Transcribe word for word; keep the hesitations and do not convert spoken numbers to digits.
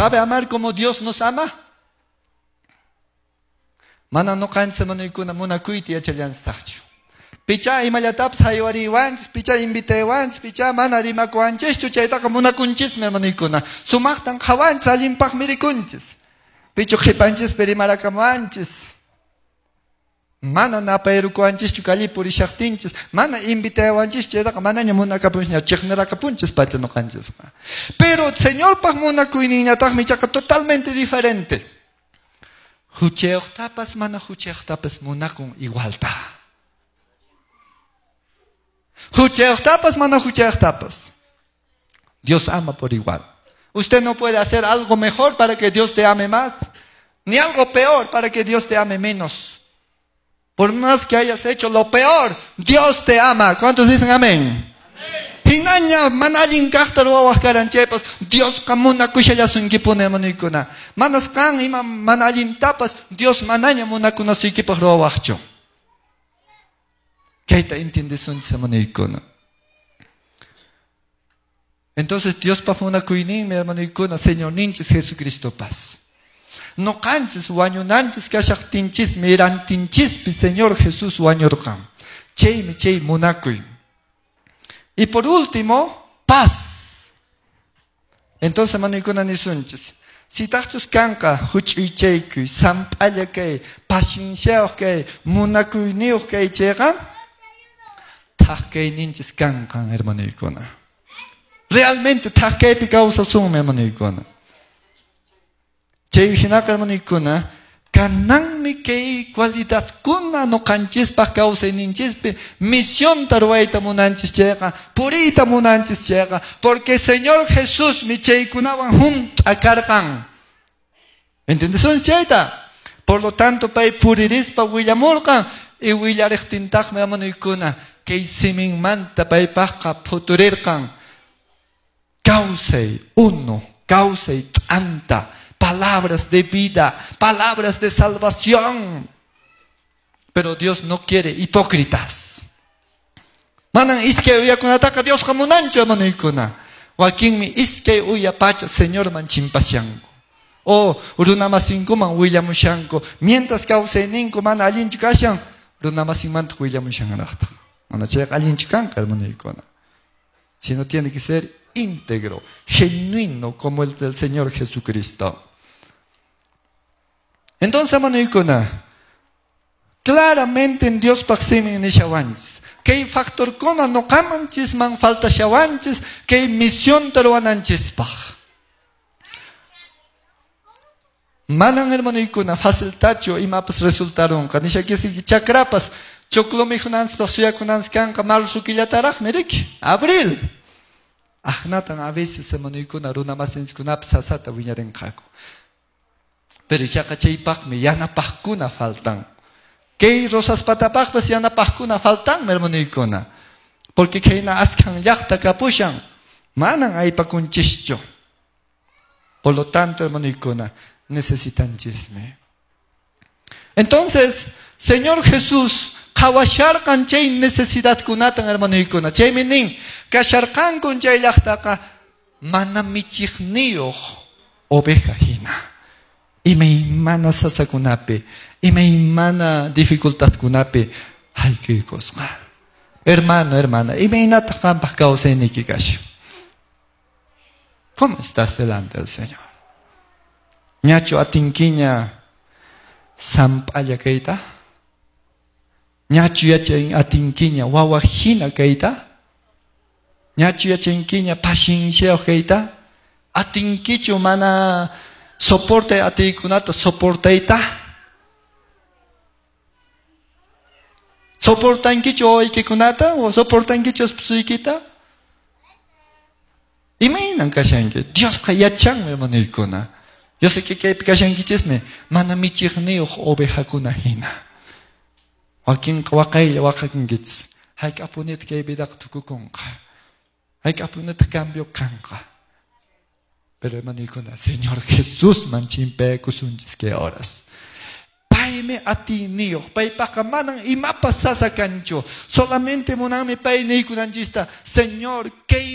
¿Sabe amar como Dios nos ama? Mana nuqanchis hermanuykuna munakuyta yachallanstaqchu. Picha imallatapis haywariwanchis, picha invitaywanchis, picha mana rimakuwanchischu, chaytaqa munakunchismi hermanuykuna. Sumaqtan qhawanchis, allinpaqmi rikunchis. Pichu qhipanchispi rimarakamuwanchis. Mana napayrukuwanchischu kalli purishaqtinchis, mana invitayawanchischu, chaytaqa manaña munakapunchisña, chiqnirakapunchis pacha nuqanchisqa. Pero Señorpaq munakuyninñataqmi ichaqa totalmente diferente. Huchayuqtapas mana huchayuqtapas munakun igualta. Huchayuqtapas mana huchayuqtapas. Dios ama por igual. Usted no puede hacer algo mejor para que Dios te ame más, ni algo peor para que Dios te ame menos. Por más que hayas hecho lo peor, Dios te ama. ¿Cuántos dicen amén? Hinaña mana allin kaqta ruwawaq karan chaypas Diosqa munakushallasunkipuni hermanuykuna. Manas qan ima mana allintapas Dios manaña munakunasuykipaq ruwawaqchu. Kayta entiendesunchis hermanuykuna. Entonces Diospa munakuyninmi hermanuykuna Señorninchis Jesucristopas. Nuqanchis wañunanchis kashaqtinchismi rantinchispi Señor Jesús wañurqan. Chaymi chay munakuy. Y por último, paz. Entonces, hermanuykuna nisunchis. Sitaqchus kanqa huch'uychaykuy, samp'alla kay, pacienciayuq kay, munakuyniyuq kay chayqa, thak kayninchis kanqan, hermanuykuna. Realmente thak kaypi kawsasunmi, hermanuykuna. Chay hinaqa, hermanuykuna, kananmi kay cualidadkuna nuqanchispaq kawsayninchispi misionta ruwayta munanchis chayqa, puriyta munanchis chayqa, porque Señor Jesusmi chaykunawan hunt'a karqan. ¿Entendesun chayta? Por lo tanto, pay puririspa willamurqan y willariqtintaqmi hermanuykuna kay siminmanta paypaqqa phuturirqan. Kawsay uno, kawsay t'anta, palabras de vida, palabras de salvación. Pero Dios no quiere hipócritas. Manan iskay uyakunataqa Diosqa munanchu hermanuykuna. Wakinmi iskay uya pacha Señorman chimpashanku. O runamasinkuman willamushanku. Mientras kawsayninku mana allinchu kashan, runamasinmantaq willamushanraqtaq. Mana chayqa allinchu kanqa hermanuykuna. Sino tiene que ser íntegro, genuino como el del Señor Jesucristo. Entonces, hermanuykuna, claramente en Diospaq simin nishawanchis. Kay factorkuna nuqamanchisman faltashawanchis, kay misionta ruwananchispaq. Manan hermanuykuna faciltachu imapas resultarunqa. Nishakisiki chakrapas choclo mikhunanchispaq suyakunanchis kanqa marzo killataraqmi riki, abril. Ahnatan a veces hermanuykuna runamasinchikkunapas sasata wiñarinqaku. Pero ichaqa chaypaqmi yanapaqkuna faltan. Kay Rosaspatapaqpas yanapaqkuna faltanmi hermanuykuna. Porque khayna askhan llaqta kapushan, manan aypakunchischu. Por lo tanto, hermanuykuna, necesitanchismi. Entonces, Señor Jesús qhawasharqan chay necesidadkunatan hermanuykuna. Chaymi nin, kasharqankun chay llaqtaqa mana michiqniyuq oveja hina. Imaymana sasakunapi, imaymana dificultadkunapi haykuykusqa. Hermano, hermana, imaynataq qampaq kawsayniyki kashan? ¿Cómo estás delante del Señor? Ñachu atinkiña samp'alla kayta? Ñachu yachan atinkiña wawa hina kayta? Ñachu yachankiña pacienciayuq kayta? Atinkichu mana soporte atiykunata soportayta? Soportankichu wawaykikunata o soportankichu esposuykita? Imaynan kashanki? Diosqa yachanmi hermanuykuna. Yo sé que kaypi kashankichismi mana michiqniyuq ovejakuna hina. Wakinqa waqaylla waqakunkichis. Hayk'apunitaq kay vidaqa tukukunqa. Hayk'apunitaq cambio kanqa. Pero hermanuykuna, Señor Jesús man chimpaykusunchis kay horas. Paymi atiyniyuq, paypaqa manan imapas sasa kanchu. Solamente munanmi pay niykunanchista, Señor, kay